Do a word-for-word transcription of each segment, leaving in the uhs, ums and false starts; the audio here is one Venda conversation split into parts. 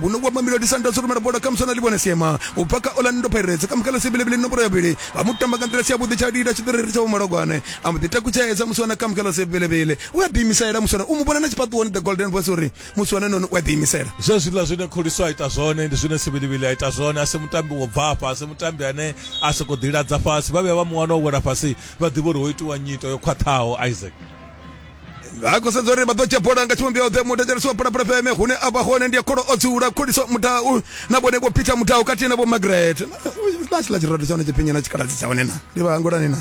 Vhuno wa Mamelodi Sundowns rumela bola kha Muswana Livhone Siema u bva kha Orlando Pirates kha Mukhala Sebelebele nomboro ya vhili vha mutamba nga nḓila si yavhuḓi tsha lila tshiṱiriri tsha Vhomalogwane a mbo ḓi takutshedza Muswana kha Mukhala Sebelebele u a ḓiimisela. Muswana u mu vhona na tshifhaṱuwoni the Golden Voice uri Muswana noni u a ḓiimisela. Zwezwiḽa zwine Khuliso a ita zwone ndi zwine Sebelebele a ita zwone. A si mutambi wo bva afha, a si mutambi ane a sokou ḓiladza fhasi. Vha vhuya vha mu wana o wela fhasi vha ḓivha uri ho itiwa nyito yo khwaṱhaho. Isaac vha khou sedza uri vha ḓo dzhia bola nga tshivhumbeo ḓe. Muthetshelesi wa Phalaphala F M hune a vha hone ndi ya kholo o dzula Khuliso Mudau na vhone vho Peter Mudau khathihi na vho Margaret na tshiḽa tshirado tsha hone tshipinyi na tshikaladzi tsha hone na ndi vha hangwelani na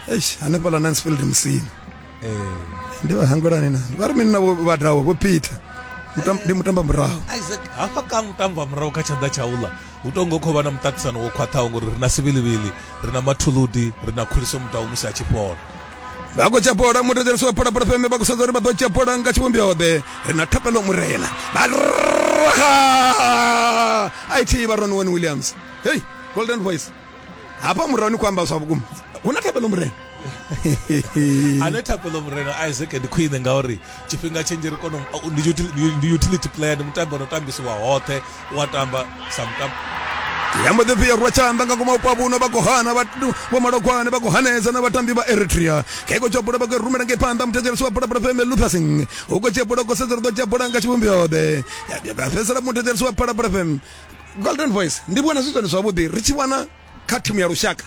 eish hanefhaḽa Mansfield Musina ndi vha hangwelani na vha ri mini na vho Vhadau vho Peter ndi mutamba murahu. Isaac hafha ka mutamba murahu kha tshanḓa tsha uḽa hu tou ngo khou vha na muṱaṱisano wo khwaṱhaho ngori ri na Sibilibili, ri na Mathuludi, ri na Khuliso Mudau musi a tshi fhola. Vha khou dzhia bola muthetshelesi wa Phalaphala F M vha khou sedza uri vha ḓo dzhia bola nga tshivhumbeo ḓe. Ri na Thapelo Murena vha raha I T vha Ronwen Williams. Hey Golden Voice hafha murahu ni khou amba zwa vhukuma hu na Thapelo Murena. Ane Thapelo Murena Isaac ndi khwine ngauri tshifhinga tshinzhi ri kona ndi utility player, ndi mutambi ono tambisiwa hoṱhe, wa tamba sa mutambi. Ya mbo ḓi fhia rwa tshanḓa nga ngomu vhupo vhuno vha khou hana vho Malogwane vha khou hanedza na vhatambi vha Eritrea. Khe khou dzhia bola vha khou rumela ngei phanḓa muthetshelesi wa Phalaphala F M Lucas u khou dzhia bola khou sedza uri ḓo dzhia bola nga tshivhumbeo ḓe. Ya fhedzisela muthetshelesi wa Phalaphala F M Golden Voice ndi vhona zwi zwone zwavhuḓi ri tshi wana kha thimu ya lushaka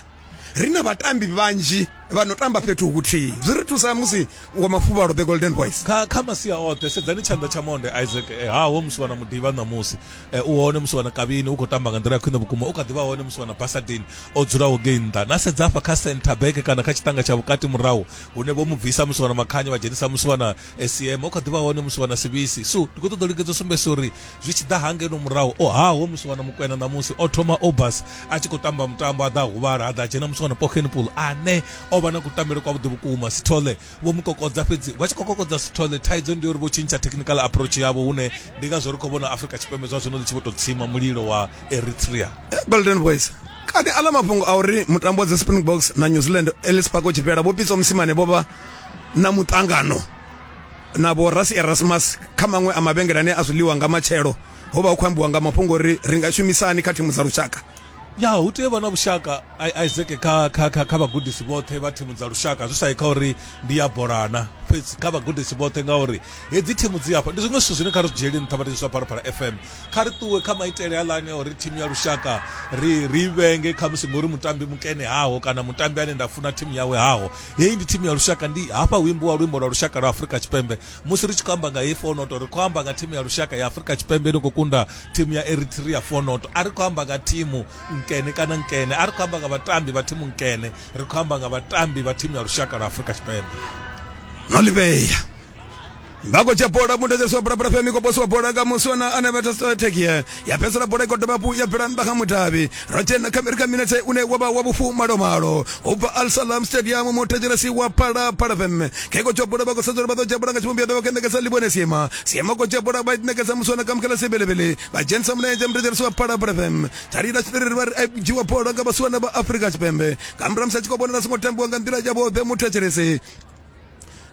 ri na vhatambi vhanzhi vha no tamba fhethu huthihi, zwi ri thusa musi wa mafuvhalo the Golden Voice kha kha masia oṱhe. Sedzani tshanḓa tsha monde Isaac eh, haho musi wana Mudiva ṋamusi eh, u hone musi wana Kavhini u khou tamba nga nḓila ya khwine vhukuma, u kha ḓivha hone musi wana Basadin o dzulaho ngei nnḓa. Na sedza hafha kha center back kana kha tshiṱanga tsha vhukati murahu hune vho mu bvisa musi wana Makhanya vha dzhenisa musi wana S M, o kha ḓivha hone musi wana Sibisi. So ndi khou ṱoḓa u lingedza sumbedzisa uri zwi tshi ḓa hangeno murahu o haho musi wana Mukwena ṋamusi o thoma Obas a tshi khou tamba mutambo a ḓa huvhala a ḓa dzhena musi wana Pochenpool ane o vha na kutambele kwavhuḓi vhukuma. Sithole vho mu kokodza, fhedzi vha tshi khou kokodza Sithole thaidzo ndi uri vho tshintsha technical approach yavho, hune ndi ngazwo ri khou vhona Afrika Tshipembe zwa zwino ḽi tshi vho tou tsima mulilo wa Eritrea. Golden Voice kani aḽa mafhungo a uri mutambo wa dzi Springboks na New Zealand Ellis Park u tshi fhela vho Pitso Mosimane vho vha na muṱangano na vho Rassie Erasmus kha maṅwe a mavhengele ane a zwiḽiwa nga matshelo, ho vha hu khou ambiwa nga mafhungo uri ri nga shumisani kha thimu dza lushaka. Ya hu tea vha na vhushaka Isaac kha kha kha kha vhagudisi vhoṱhe vha thimu dza lushaka, zwi sa yi kha uri ndi ya bolana fhedzi kha vhagudisi vhoṱhe, ngauri hedzi thimu dzi afha ndi zwiṅwe zwithu zwine kha ri zwi dzhiele nṱha vhathetshelesi vha Phalaphala F M. Kha ri ṱuwe kha maitele aḽa ane uri thimu ya lushaka ri ri vhenge khamusi ngori mutambi mukene haho kana mutambi ane nda funa thimu yawe haho. Heyi ndi thimu ya lushaka, ndi hafha hu imbiwa luimbo lwa lushaka lwa Afrika Tshipembe. Musi ri tshi khou amba nga heyi four noto ri khou amba nga thimu ya lushaka ya Afrika Tshipembe ino khou kunda thimu ya Eritrea four noto. A ri khou amba nga thimu nkene kana nkene, a ri khou amba nga vhatambi vha thimu nkene, ri khou amba nga vhatambi vha thimu ya lushaka lwa Afrika Tshipembe. No livheya vha khou dzhia bola muthetshelesi wa Phalaphala F M i khou posiwa bola nga Muswana ane vha thekia ya fhedzisela bola i khou dovha hafhu ya bvela nnḓa kha mudavhi. Ro dzhena kha ri kha minetse une wa vha wa vhufumalo u bva Al Salam Stadium muthetshelesi wa Phalaphala F M khe khou dzhia bola vha khou sedza uri vha ḓo dzhia bola nga tshivhumbeo vha khou ṋekedza Livhone Siema Siema khou dzhia bola vha ṋekedza Muswana Kamukela Sebelebele vha dzhenisa mulenzhe muthetshelesi wa Phalaphala F M tshalila tshiṱiriri vha ri dzhiwa bola nga vhasiwana vha Afrika Tshipembe nga murahu musi a tshi khou vhonala songo tambiwa nga nḓila yavhuḓi muthetshelesi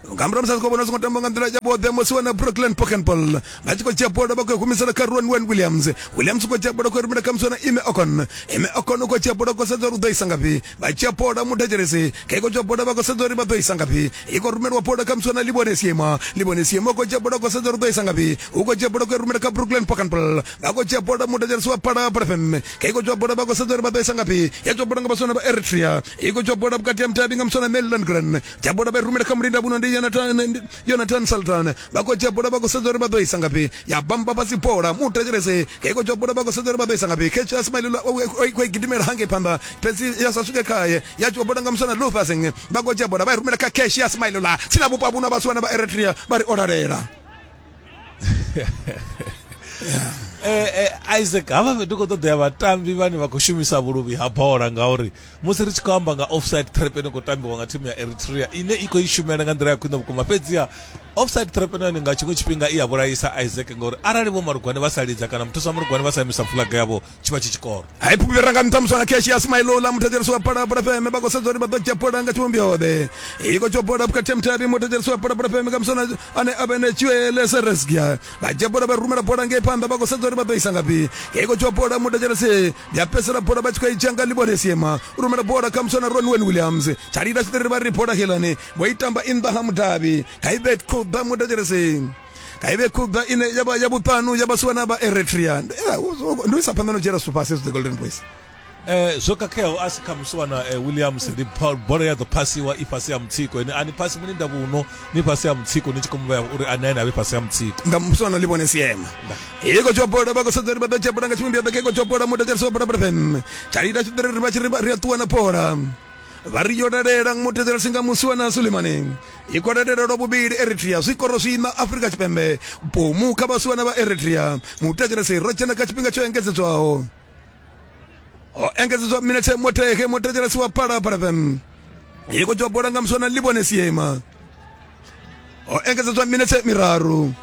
nga murahu musi a tshi khou vhona songo tamba nga nḓila yavhuḓi musiwana Brooklyn Pochenpool vha tshi khou dzhia bola vha khou humisela kha Ronwen Williams. Williams u khou dzhia bola khou rumela kha musiwana Ime Okon. Ime Okon u khou dzhia bola khou sedza uri u ḓo isa ngafhi. Vha dzhia bola muthetshelesi khe khou dzhia bola vha khou sedza uri vha ḓo isa ngafhi. I khou rumelwa bola kha musiwana Livhone Siema. Livhone Siema u khou dzhia bola khou sedza uri u ḓo isa ngafhi. U khou dzhia bola khou rumela kha Brooklyn Pochenpool. Vha khou dzhia bola muthetshelesi wa Phalaphala F M khe khou dzhia bola vha khou sedza uri vha ḓo isa ngafhi. Ya dzhia bola nga vhasiwana vha Eritrea. I khou dzhia bola vhukati ha mutavhi nga musiwana Maryland Grant. Dzhia bola vha rumela kha mulinda vhuno ndi Jonathan Jonathan Sultan. Vha khou dzhia bola vha khou sedza uri vha ḓo isa ngafhi. Ya bamba fhasi bola muthetshelesi khe khou dzhia bola vha khou sedza uri vha ḓo isa ngafhi. Khe Ismail o khou gidimela hangei phanḓa fhedzi ya sa swike khaye. Ya dzhia bola nga muswana Lucas vha khou dzhia bola vha i rumela kha Cash ya Ismail la tsina vhupo vhuno vhasiwana vha Eritrea vha ri o lalela. Eh, eh, Isaac havha ndi khou ṱoḓea vhatambi vhane vha khou shumisa vhuluvhi ha bola, ngauri musi ri tshi khou amba nga offside trap ine khou tambiwa nga thimu ya Eritrea ine i khou i shumela nga nḓila ya khwine vhukuma, fhedziha Offside trap nani nga tshiṅwe tshifhinga i ya vhulaisa Isaac, ngori arali vho Malugwane vha sa lidza kana muthusa wa Malugwane vha sa imisa flag yavho tshi vha tshi tshikoro. Hai phupira nga nṱha muswana keshi ya Smailola muthetshelesi wa Phalaphala F M vha khou sedza uri vha ḓo dzhia bola nga tshivhumbeo ḓe. I khou dzhia bola vhukati ha mutavhi muthetshelesi wa Phalaphala F M nga muswana ane a vha ene Tshiele Seresgia. Vha dzhia bola vha rumela bola ngei phanḓa vha khou sedza uri vha ḓo isa ngafhi. I khou dzhia bola muthetshelesi ya fhedzisela bola vha tshi khou i dzhia nga Libone Siema. U rumela bola kha muswana Ronwen Williams. Tshalida tshiṱiriri vha ri bola helani vho i tamba i nnḓa ha mudavhi. Kha i vhe khuḓa muthetshelesi. Kha i vhe khuḓa ine ya vha ya vhuṱanu ya vhasiwana vha Eritrea. Ndi u isa phanḓa no dzhiela zwithu fhasi the Golden Boys. Eh zwo khakheaho a si kha musiwana eh, Williams ndi bola ya ḓo phasiwa i fhasi ya mutsiko, ene ani phasi mulinda vhuno ni fhasi ya mutsiko ni tshi khou muvhea uri ane ene avhe fhasi ya mutsiko nga musiwana Libone Siema. I khou dzhia bola vha khou sedza uri vha ḓo dzhia bola nga tshivhumbeo ḓe. I khou dzhia bola muthetshelesi wa Phalaphala F M. Tshalida tshiṱiriri vha tshi ri ri a ṱuwa na bola. Vha ri yo lalela muthetshelesi nga musiwana Sulemani. I khou lalela lwa vhuvhili Eritrea zwikoro zwiṋa Afrika Tshipembe bomu kha vhasiwana vha Eritrea. Muthetshelesi ro dzhena kha tshifhinga tsho engedzedzwaho. O engedzedzwa minetse motehe muthetshelesi wa Phalaphala F M. I khou dzhia bola nga musiwana Libone Siema. O engedzedzwa minetse miraru.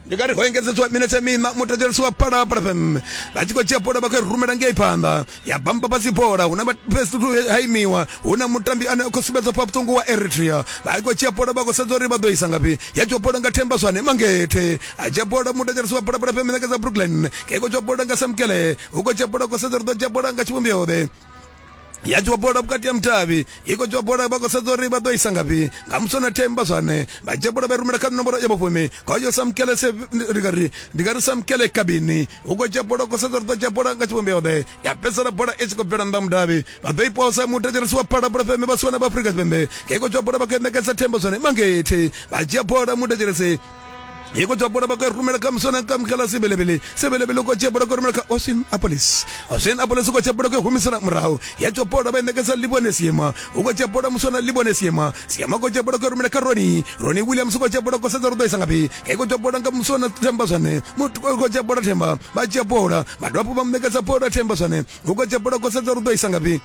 Ndi nga ri ho engedzedzwa minetse miṋa muthetshelesi wa Phalaphala F M. Vha tshi khou dzhia bola vha khou i rumela ngei phanḓa ya bamba fhasi bola. Hu na ha imiwa hu na mutambi ane a khou sumbedza pha vhuṱungu wa Eritrea. Vha khou dzhia bola vha khou sedza uri vha ḓo isa ngafhi. Ya dzhia bola nga Themba Zwane Mangethe. A dzhia bola muthetshelesi wa Phalaphala F M ṋekedza Brooklyn. Ke khou dzhia bola nga Samkele. Hu khou dzhia bola khou sedza uri ḓo dzhia bola nga tshivhumbeo ḓe. Ya dzhia bola vhukati ha mutavhi. I khou dzhia bola vha khou sedza uri vha ḓo isa ngafhi nga muswana Themba Zwane. Vha dzhia bola vha rumela kha nomboro ya vhufumi. Khoyo Samkele se ndi nga ri ndi nga ri Samkele Kabini. Hu khou dzhia bola khou sedza uri ḓo dzhia bola nga tshivhumbeo ḓe. Ya fhedzisela bola i tshi khou bvela nnḓa mudavhi. Vha ḓo i posa muthetshelesi wa Phalaphala F M vhasiwana vha Afrika Tshipembe. I khou dzhia bola vha khou ṋekedza Themba Zwane Mangethe. Vha dzhia bola muthetshelesi. I khou dzhia bola vha khou rumela kha muswana Kamkhala Sebelebele. Sebelebele u khou dzhia bola khou rumela kha Osin Apolis. Osin Apolis u khou dzhia bola khou humisela murahu. Ya dzhia bola vha i ṋekedza Libone Siema. U khou dzhia bola muswana Libone Siema. Siema khou dzhia bola khou rumela kha Roni. Roni Williams u khou dzhia bola khou sedza uri ḓo isa ngafhi. I khou dzhia bola nga muswana Themba Zwane. Muthu u khou dzhia bola Themba. Vha dzhia bola vha dovha hafhu vha mu ṋekedza bola Themba Zwane. U khou dzhia bola khou sedza uri ḓo isa ngafhi.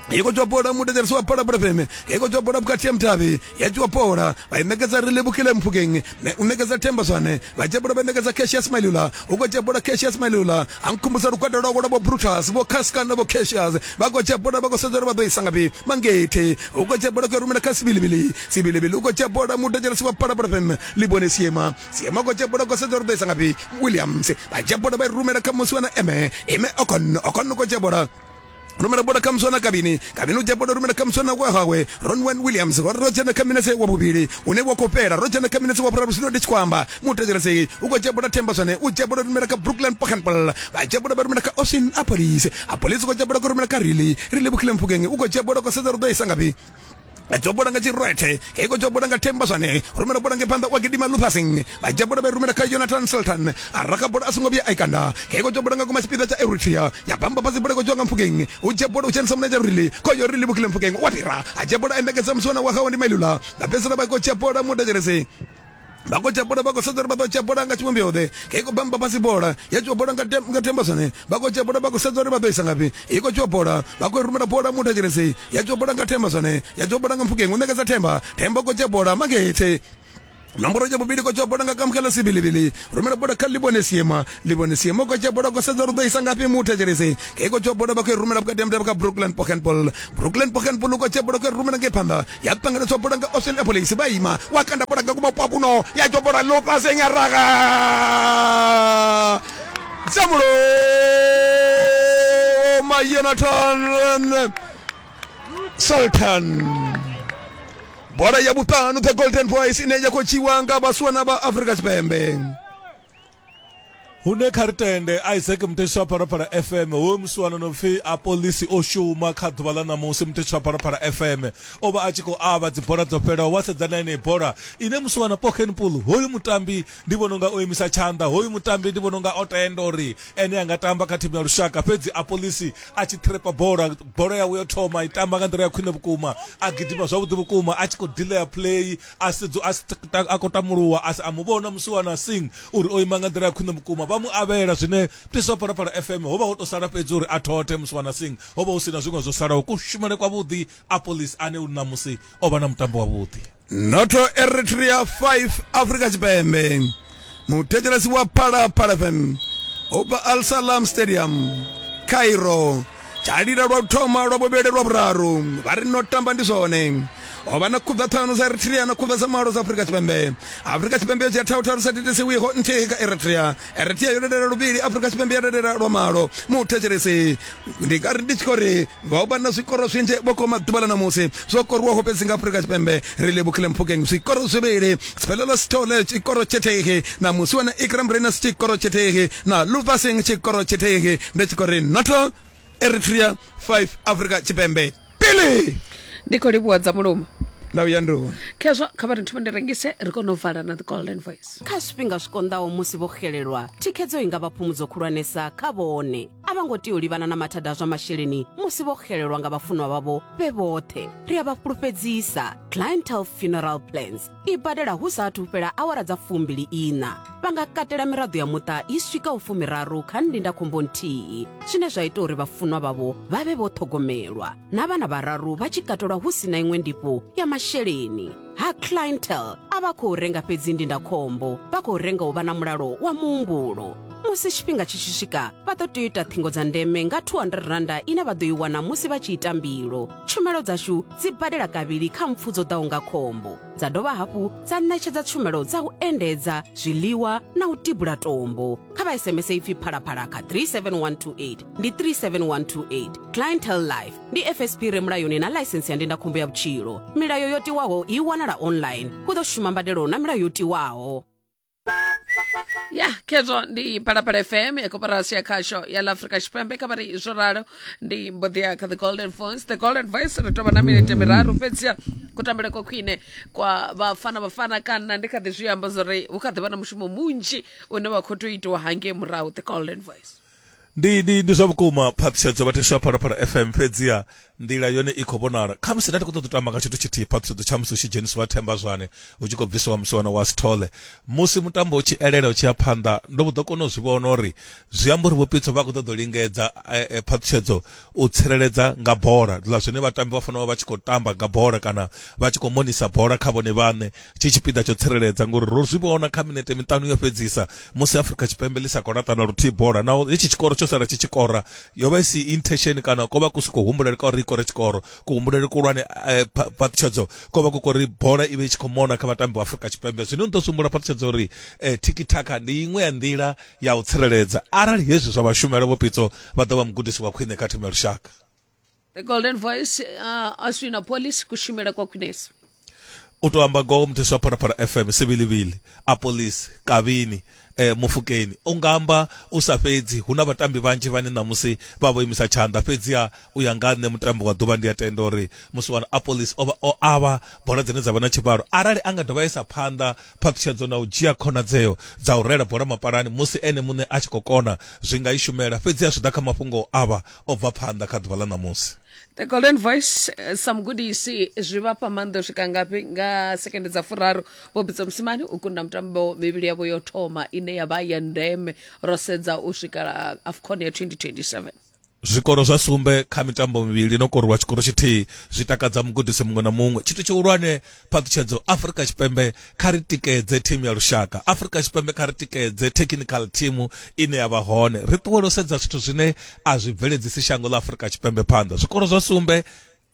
I khou dzhia bola muthetshelesi wa Phalaphala F M. I khou dzhia bola vhukati ha mutavhi. Ya dzhia bola vha i ṋekedza Relebogile Mphukeng. U ṋekedza Themba Zwane. Vha dzhia bola vha ṋekedza Cassius Mailula. U khou dzhia bola Cassius Mailula. A nkhumbudza lugwada lwawe lwa vho Brutus, vho Casca na vho Cassius. Vha khou dzhia bola vha khou sedza uri vha ḓo isa ngafhi. Mangethe. U khou dzhia bola khou rumela kha Sibilibili. Sibilibili u khou dzhia bola muthetshelesi wa Phalaphala F M. Libone Siema. Siema u khou dzhia bola khou sedza uri ḓo isa ngafhi. Williams. Vha dzhia bola vha i rumela kha musiwana Eme. Eme Okon. Okon u khou dzhia bola. Rumela bola kha muswana Kabini. Kabini u dzhia bola rumela kha muswana wa hawe Ronwen Williams. Ro dzhena kha minetse wa vhuvhili une wa khou fhela. Ro dzhena kha minetse wa vhuraru zwino ndi tshi khou amba. Muthetshelesi u khou dzhia bola Themba Zwane. U dzhia bola rumela kha Brooklyn Pochenpol. Vha dzhia bola vha rumela kha Osin Apolis. Apolis u khou dzhia bola khou rumela kha Rili. Rili Bukhile Mphukeng u khou dzhia bola khou sedza uri ḓo isa ngafhi. A dzhia bola nga Tshirwethe. I khou dzhia bola nga Themba Zwane. Rumela bola nge phanḓa wa gidima Luthasing. Vha dzhia bola vha rumela kha Jonathan Sultan. A raka bola a songo vhuya a i kanda. I khou dzhia bola nga kuma tshipiḓa tsha Eritrea. Ya bamba fhasi bola i khou dzhiwa nga Mphukeng. U dzhia bola u dzhenisa mulenzhe Rili. Khoyo Rili Bukhile Mphukeng wa fhira. A dzhia bola a ṋekedza musiwana wa hawe ndi Mailula. Vha fhedzisela vha khou dzhia bola muthetshelesi. Vha khou dzhia bola vha khou sedza uri vha ḓo dzhia bola nga tshivhumbeo ḓe. I khou bamba fhasi bola ya dzhia bola nga Themba Zwane. Vha khou dzhia bola vha khou sedza uri vha ḓo isa ngafhi. I khou dzhia bola vha khou rumela bola muthetshelesi. Ya dzhia bola nga Themba Zwane. Ya dzhia bola nga Mphukeng. U ṋekedza Themba. Themba u khou dzhia bola Mangethe. Nomboro ya vhuvhili khou dzhia bola nga Kamkhala Sibilibili. Rumela bola kha Libone Siema. Libone Siema u khou dzhia bola khou sedza uri ḓo isa ngafhi muthetshelesi. I khou dzhia bola vha khou i rumela vhukati ha mutevhe kha Brooklyn Pochenpol. Brooklyn Pochenpol u khou dzhia bola khou i rumela ngei phanḓa. Ya ṱanganedzwa bola nga Osin Apolis. Vha ima wa kanda bola nga kuma Papuno. Ya dzhia bola Luthasing a raga. Tsamulo ma Jonathan Sultan. Bola ya vhuṱanu the Golden Boys ine ya khou dzhiwa nga vhasiwana vha Afrika Tshipembe. Hune kha ri tende Isaac Muthetshi wa Phalaphala F M hoyu musiwana no pfi Apolisi o shuma kha ḓuvha ḽa ṋamusi. Muthetshi wa Phalaphala F M o vha a tshi khou avha dzibola dzo fhelaho wa sedza na yeneyi bola ine musiwana Pochenpool hoyu mutambi ndi vhona unga o imisa tshanḓa, hoyu mutambi ndi vhona unga o tenda uri ene a nga tamba kha thimu ya lushaka, fhedzi Apolisi a tshi trepa bola, bola yawe yo thoma i tamba nga nḓila ya khwine vhukuma, a gidima zwavhuḓi vhukuma a tshi khou delaya play a sedzu a khou tamuluwa a a mu vhona musiwana Singh uri o ima nga nḓila ya khwine vhukuma. Vha mu avhela zwine Muthetshesi wa Phalaphala F M ho vha ho to sala fhedzi uri a thothe Musiwana Singh, ho vha hu sina zwiṅwe zwo salaho. Kushumele kwavhuḓi Apolis ane u ṋamusi o vha na mutambo wavhuḓi. Noto Eritrea five Afrika Tshipembe. Muthetshelesi wa Phalaphala F M ubva Al Salam Stadium Cairo. Tshalila lwa u thoma, lwa vhuvhili, lwa vhuraru vha ri no tamba ndi zwone. O vha na khubva ṱhanu dza Eritrea na khubva dza malo dza Afrika Tshipembe. Afrika Tshipembe yo dzhia tharu tharu sa thithisiwiho nthihi kha Eritrea. Eritrea yo dadela luvhili, Afrika Tshipembe ya dadela lwa malo. Muthetshelesi ndi nga ri ndi tshi khou ri vha vha na zwikoro zwinzhi vho koma ḓuvha ḽa ṋamusi zwo koriwaho fhedzi nga Afrika Tshipembe. Ri livhukhile Mphukeng zwikoro zwivhili, Siphelelo Sithole tshikoro tshithihi na Musiwana Ikram Renas tshikoro tshithihi na Luva Singh tshikoro tshithihi. Ndi tshi khou ri noto Eritrea five Afrika Tshipembe pili. Ndi khou livhuwa dza mulomo ndau ya nduwa khezwo kha vha ri thome ndi rengise ri kone u vala na The Golden Voice. Kha zwifhinga zwi konḓaho musi vho xelelwa, thikhedzo i nga vha phumudzo khulwanesa kha vhone. A vha ngo tea u livhana na mathada a zwa masheleni musi vho xelelwa nga vhafunwa vhavho vhe vhoṱhe. Ri a vha fhulufhedzisa Clientele Funeral Plans i badela hu sa athu fhela awara dza fumbili ina. Vha nga katela miraḓo ya muṱa i swikaho fumiraru kha ndindakhombo nthihi, zwine zwa ita uri vhafunwa vhavho vha vhe vho ṱhogomelwa, na vhana vhararu vha tshi katelwa hu sina iṅwe ndifho ya masheleni. Ha Clientele a vha khou renga fhedzi ndindakhombo, vha khou renga u vha na mulalo wa muhumbulo. Musi tshifhinga tshi tshi swika, vha ḓo tea u ita ṱhingo dza ndeme nga two hundred randa ine vha ḓo i wana musi vha tshi ita mbilo. Tshumelo dzashu dzi badela kavhili kha mpfu dzo ḓaho nga khombo, dza dovha hafhu dza ṋetshedza tshumelo dza u endedza, zwiḽiwa na u tibula tombo. Kha vha S M S ipfi Phalaphala kha three seven one two eight, ndi three seven one two eight. Clientele Life ndi F S P re mulayoni na ḽaisensi ya ndindakhombo ya vhutshilo. Milayo yo tiwaho i wanala online. Hu ḓo shuma mbadelo na milayo yo tiwaho. Ya khezwo ndi Phalaphala F M ya koporasi ya khasho ya ḽa Afrika Tshipembe. Kha vha ri zwo ralo ndi mbo ḓi ya kha The Golden Voice. The Golden Voice ri tovha na minete miraru fhedziha kutambele kwa khwine kwa vhafana vhafana kana ndi kha ḓi zwi amba zwo ri hu kha ḓi vha na mushumo munzhi une wa khou tea u itiwa hangei murahu. The Golden Voice ndi ndi ndi zwa vhukuma phaṱhutshedzo vhathetshelesi wa Phalaphala F M, fhedziha nḓila yone i khou vhonala. Khamusi nda ndi khou ṱoḓa u tamba nga tshithu tshithihi phaṱhutshedzo tsha musi hu tshi dzhenisiwa Themba Zwane hu tshi khou bvisiwa Musiwana wa Sithole. Musi mutambo u tshi elela u tshi ya phanḓa ndo vho ḓo kona u zwi vhona uri zwi amba uri Vho Pitso vha khou ṱoḓa u lingedza phaṱhutshedzo u tsireledza nga bola, ḽa zwine vhatambi vha fanela u vha vha tshi khou tamba nga bola kana vha tshi khou monisa bola kha vhone vhaṋe tshi tshipiḓa tsho tsireledza, ngori ro zwi vhona kha minete miṱanu yo fhedzisa musi Afrika Tshipembe ḽi sa khou laṱa na luthihi bola, naho hetshi tshikoro tsho sala tshi tshi kora yo vha i si intention kana ko vha ku si khou humbulele ka uri i kore tshikoro. Kuhumbulele kuhulwane phaṱhutshedzo ko vha ku kori bola i vhe i tshi khou mona kha vhatambi vha Afrika Tshipembe. Zwino ndi ḓo sumbula phaṱhutshedzo uri tiki-taka ndi iṅwe ya nḓila ya u tsireledza. Arali hezwi zwa vhashumela Vho Pitso vha ḓo vha mugudisi wa khwine kha thimu ya lushaka. The Golden Voice uh, Oswin Appollis kushumela kwa khwinesa. U to amba ngoho muthetshelesi wa Phalaphala F M sivilivili Appollis Kavini eh, Mufukeni u nga amba u sa fhedzi. Hu na vhatambi vhanzhi vhane ṋamusi vha vho imisa tshanḓa, fhedziha u ya nga nṋe mutambo wa ḓuvha ndi a tenda uri Musiwana Appollis o vha o avha bola dzine dza vha na tshivhalo. Arali a nga dovha isa phanḓa phaṱhutshedzo na u dzhia khonadzeo dza u rela bola mapalani musi ene muṋe a tshi khou kona, zwi nga i shumela. Fhedziha zwi ḓa kha mafhungo avha o bva phanḓa kha ḓuvha ḽa ṋamusi. The Golden Voice sa mugudisi zwi vha fha maanḓa u swika ngafhi nga sekende dza furaru Vho Pitso Mosimane u kunda mutambo mivhili yavho yo thoma ine ya vha ya ndeme ro sedza u swika AFCON ya twenty twenty-seven. Zwikoro zwa sumbe kha mitambo mivhili no koriwa tshikoro tshithihi zwi takadza mugudisi muṅwe na muṅwe. Tshithu tshihulwane phaṱhutshedzo, Afrika Tshipembe kha ri tikedze thimu ya lushaka, Afrika Tshipembe kha ri tikedze technical team ine ya vha hone, ri ṱuwele u sedza zwithu zwine a zwi bveledzisi shango ḽa Afrika Tshipembe phanḓa. Zwikoro zwa sumbe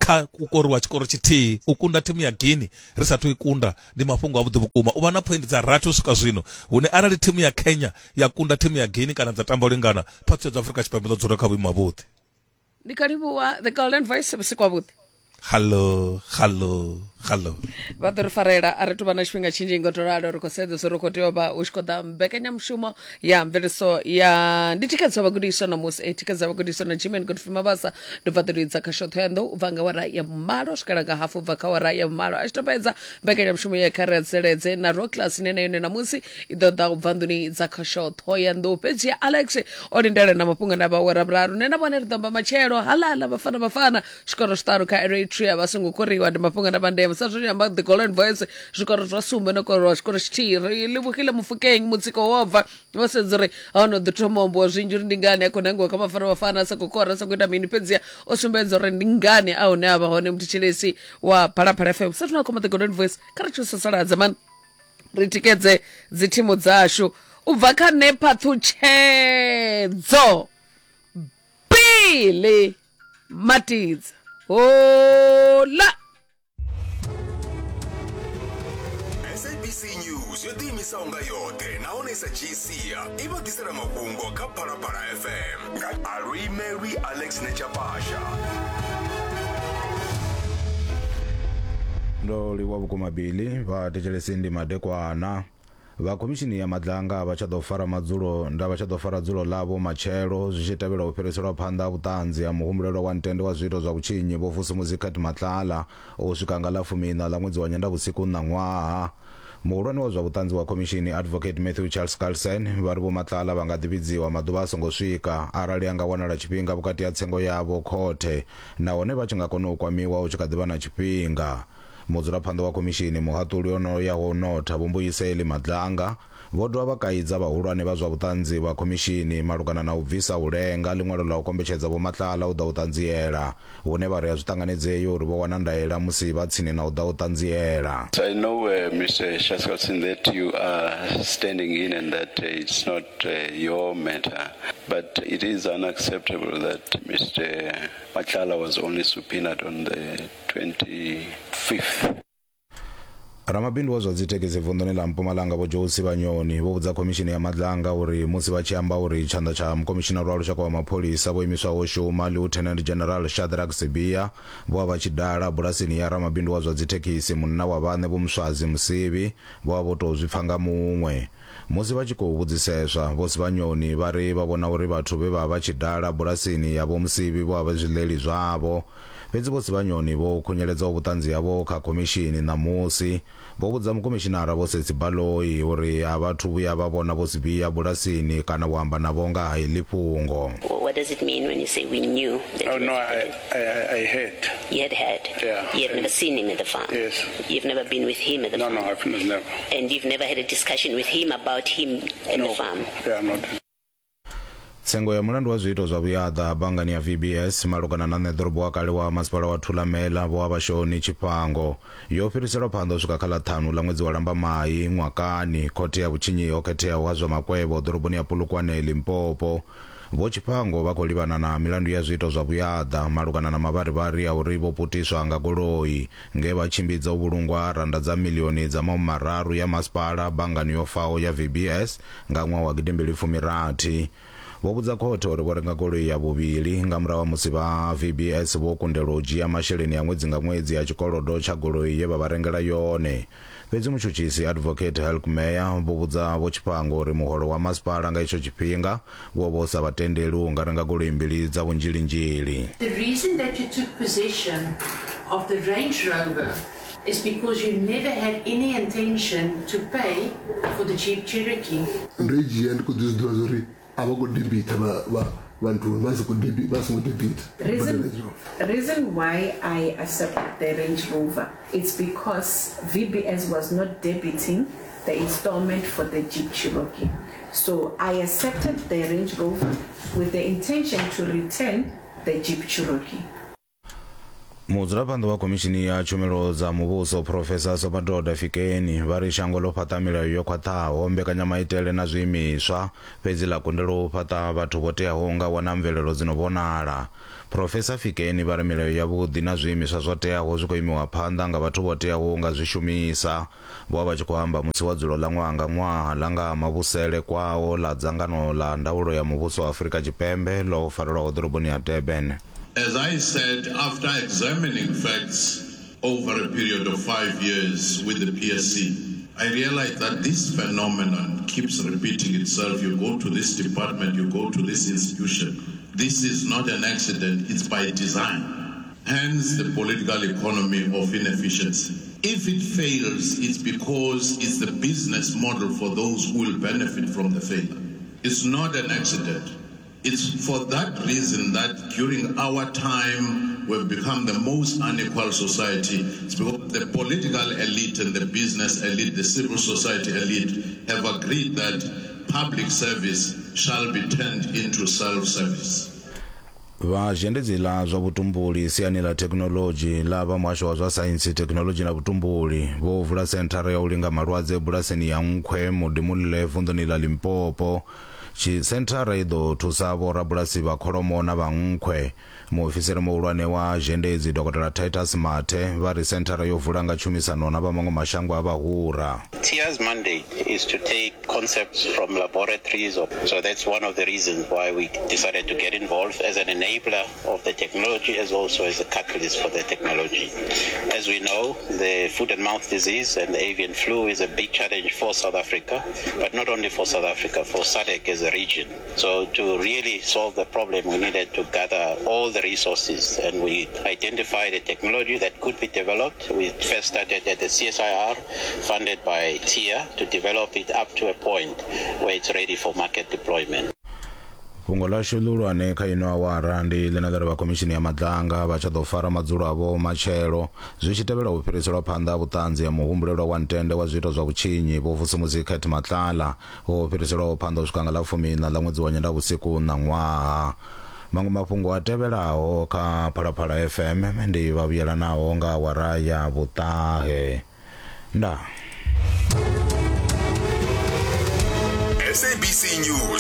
kha u koriwa tshikoro tshithihi, u kunda thimu ya Guinea ri sathu i kunda ndi mafhungo avhuḓi vhukuma. U vha na point dza rathi u swika zwino, hune arali thimu ya Kenya ya kunda thimu ya Guinea kana dza tamba u lingana, phaṱhutshedzo Afrika Tshipembe ḓo dzula kha vhuimo havhuḓi. Ndi kha livhuwa The Golden Voice, vhusiku havhuḓi. Hallo, hallo, hallo. Vha ḓo ri farela a ri tuvha na tshifhinga tshinzhi ngo to ralo, ri khou sedza zwo ri khou tea u vha u tshi khou ḓa mbekanyamushumo ya mveledziso ya ndi thikhedzo ya vhagudiswa ṋamusi, e thikhedzo ya vhagudiswa na Jimmy Godfrey Mabasa. Ndi bva ḓo lidza kha shotho ya ndo u bva nga wara ya vhumalo swikela nga hafu bva kha wara ya vhumalo. A tshi to fhedza mbekanyamushumo ya kha ri tsireledze na Rock Class ine na yone ṋamusi i ḓo ḓa u bva nḓuni dza kha shotho ya ndo. Fhedzi ya Alex o lindela na mafhungo na vha wara vhuraru, nṋe na vhone ri ḓo amba matshelo. Halala vhafana vhafana zwikoro zwiṱanu kha Eritrea vha songo koriwa, ndi mafhungo na vha ndeme. F M. Sa zwi amba the Golden Voice zwikoro zwa sumbe no korwa tshikoro tshithihi. Ri livhukhile Mofokeng mutsiko wo bva vho sedza uri a no ḓi thoma u ambiwa zwinzhi uri ndi ngani a khou nangiwa kha Bafana Bafana a sa khou kora a sa khou ita mini, fhedziha o sumbedza uri ndi ngani a hune a vha hone muthetshelesi wa Phalaphala F M. Sa zwino khoma the Golden Voice kha ri tshi sasaladza mani ri tikedze dzi thimu dzashu. U bva kha nṋe Phaṱhutshedzo Bili Matidza. Hola. S A B C News yo ḓiimisaho nga yoṱhe nahone sa G C i vha ḓisela mafhungo kha Phalaphala F M nga Aluimelwi Alex Nechapasha. Ndo livhuwa vhukuma Bili vha thetshelesi ndi madekwana. Vha khomishini ya Madlanga vha tsha ḓo fara madzulo nda vha tsha ḓo fara dzulo ḽavho matshelo zwi tshi tevhela u fhiriselwa phanḓa vhuṱanzi ha muhumbulelwa wa ntende wa zwiito zwa vhutshinyi Vho Vusumuzi Cat Matlala u swika nga ḽa fumiiṋa ḽa ṅwedzi wa Nyendavhusiku ṋaṅwaha. Muhulwane wa zwa vhuṱanzi wa khomishini Advocate Matthew Charles Carlsen vha ri Vho Matlala vha nga ḓi vhidziwa maḓuvha a songo swika arali a nga wanala tshifhinga vhukati ha tsengo yavho khothe nahone vha tshi nga kona u kwamiwa hu tshi kha ḓi vha na tshifhinga. Mudzulaphanḓa wa khomishini muhaṱuli ono yaho notha Vho Mbuyiseli Madlanga vho dovha vha kaidza vhahulwane vha zwa vhuṱanzi vha khomishini malugana na u bvisa u lenga ḽiṅwalo ḽa u kombetshedza Vho Matlala u ḓa u ṱanziela hune vha ri a zwi ṱanganedzei uri vho wana ndaela musi vha tsini na u ḓa u ṱanziela. I know, uh, Mister Chaskalson, that you are standing in and that uh, it's not uh, your matter, but it is unacceptable that Mister Matlala was only subpoenaed on the twenty-fifth. Ramabindu wa zwa dzithekhisi vunḓuni ḽa Mpumalanga Vho Joe Sibanyoni vho vhudza khomishini ya Madlanga uri musi vha tshi amba uri tshanḓa tsha mukomishinara wa lushaka wa mapholisa vho imiswaho shuma Lieutenant General Shadrack Sibiya vho vha vha tshi dala bulasini ya ramabindu wa zwa dzithekhisi munna wa vhaṋe Vho Muswazi Musivi vho vha vho tou zwi pfa nga muṅwe. Musi vha tshi khou vhudziseswa, Vho Sibanyoni vha ri vha vhona uri vhathu vhe vha vha tshi dala bulasini ya Vho Musivi vho vha vhe zwiḽeli zwavho. Fhedzi Vho Sibanyoni vho khunyeledzaho vhuṱanzi havho kha khomishini ṋamusi vho vhudza mukomishinara Vho Setsi Baloyi uri a vhathu vhuya vha vhona Vho Sibiya bulasini kana u amba navho nga ha iḽi fhungo. What does it mean when you say we knew? That oh, no, I, I, I heard. You had heard? Yeah. You had never seen him at the farm? Yes. You've never been with him at the no, farm? No, no, I've never. And you've never had a discussion with him about him at no. the farm? Yeah, not. Tsengo ya mulandu wa zwiito zwa vhuyaḓa banngani ya V B S malugana na ṋeḓorobo wa kale wa masipala wa Thulamela Vho Avhashoni Tshifhango yo fhiriselwa phanḓa u swika kha ḽa ṱhanu ḽa ṅwedzi wa Lambamai ṅwakani khothe ya vhutshinyi ho khetheaho ha zwa makwevho ḓoroboni ya Polokwane Limpopo. Vho Tshifhango vha khou livhana na milandu ya zwiito zwa vhuyaḓa malugana na mavharivhari a uri vho putiswa nga goloi nge vha tshimbidza u vhulungwa randa dza milioni dza mahumi mararu ya masipala banngani yo faho ya V B S nga ṅwaha wa gidimbili fumi rathi. Vho vhudza khothe uri vho renga goloi ya vhuvhili nga murahu ha musi vha V B S vho kundelwa u dzhia masheleni a ṅwedzi nga ṅwedzi a tshikolodo tsha goloi ye vha vha rengela yone. Fhedzi mutshutshisi Advocate Helkmeyer vho vhudza Vho Tshifhango uri muholo wa masipala nga itsho tshifhinga wo vha u sa vha tendeli u nga renga goloi mbili dza vhunzhilinzhili. The reason that you took possession of the Range Rover is because you never had any intention to pay for the Jeep Cherokee. Ndo i dzhia ndi khou ḓi zwi ḓivha uri a vha khou debita vha vha vhantu vha si khou debita vha songo debita. Reason, reason why I accepted the Range Rover, it's because V B S was not debiting the installment for the Jeep Cherokee. So I accepted the Range Rover with the intention to return the Jeep Cherokee. Mudzulaphanḓa wa khomishini ya tshumelo dza muvhuso Professor Somadoda Fikeni vha ri shango ḽo fhaṱa milayo yo khwaṱhaho mbekanyamaitele na zwiimiswa fhedzi ḽa kundelwa u fhaṱa vhathu vho teaho nga wana mvelelo dzi no vhonala. Professor Fikeni vha ri milayo yavhuḓi na zwiimiswa zwo teaho zwi khou imiwa phanḓa nga vhathu vho teaho nga zwi shumisa. Vho vha vha tshi khou amba musi wa dzulo ḽa ṅwaha nga ṅwaha ḽa nga mavhusele kwao ḽa dzangano ḽa ndaulo ya muvhuso wa Afrika Tshipembe ḽo farelwaho ḓoroboni ya Durban. As I said, after examining facts over a period of five years with the P S C, I realized that this phenomenon keeps repeating itself. You go to this department, you go to this institution. This is not an accident, it's by design. Hence the political economy of inefficiency. If it fails, it's because it's the business model for those who will benefit from the failure. It's not an accident. It's for that reason that during our time we've become the most unequal society. It's because the political elite and the business elite, the civil society elite, have agreed that public service shall be turned into self-service. Vha zhendedzi ḽa zwa vhutumbuli siani ḽa thekhinoḽodzhi ḽa vha muhasho wa zwa saintsi, thekhinoḽodzhi na vhutumbuli vho vula senthara ya u linga malwadze bulasini ya Nkhwe Modimolle vunḓuni ḽa Limpopo. Tshi senthara i ḓo thusa vhorabulasi vha kholomo na vha nkhwe. Muofisiri muhulwane wa zhendedzi Dokotela Titus Mathe vha ri senthara yo vula nga tshumisano na vha maṅwe mashango a vhahura. T I A's mandate is to take concepts from laboratories. So that's one of the reasons why we decided to get involved as an enabler of the technology as also as a catalyst for the technology. As we know, the foot and mouth disease and the avian flu is a big challenge for South Africa, but not only for South Africa, for SADC as a region. So to really solve the problem, we needed to gather all the resources, and we identified a technology that could be developed. We first started at the C S I R, funded by T I A, to develop it up to a point where it's ready for market deployment. Fhungo ḽashu ḽihulwane kha ino awara ndi ḽine ḽa ri vha khomishini ya madlanga vha tsha ḓo fara madzulo avho matshelo zwi tshi tevhela u fhiriselwa phanḓa ha vhuṱanzi ha muhumbulelwa wa ntende wa zwiito zwa vhutshinyi Vho Vusumuzi Cat Matlala ho fhiriselwaho phanḓa u swika nga ḽa fumiiṋa ḽa ṅwedzi wa Nyendavhusiku ṋaṅwaha. Maṅwe mafhungo a tevhelaho kha Phalaphala F M ndi vha vhuyelanaho nga awara ya vhuṱahe. Ndaa. S A B C News.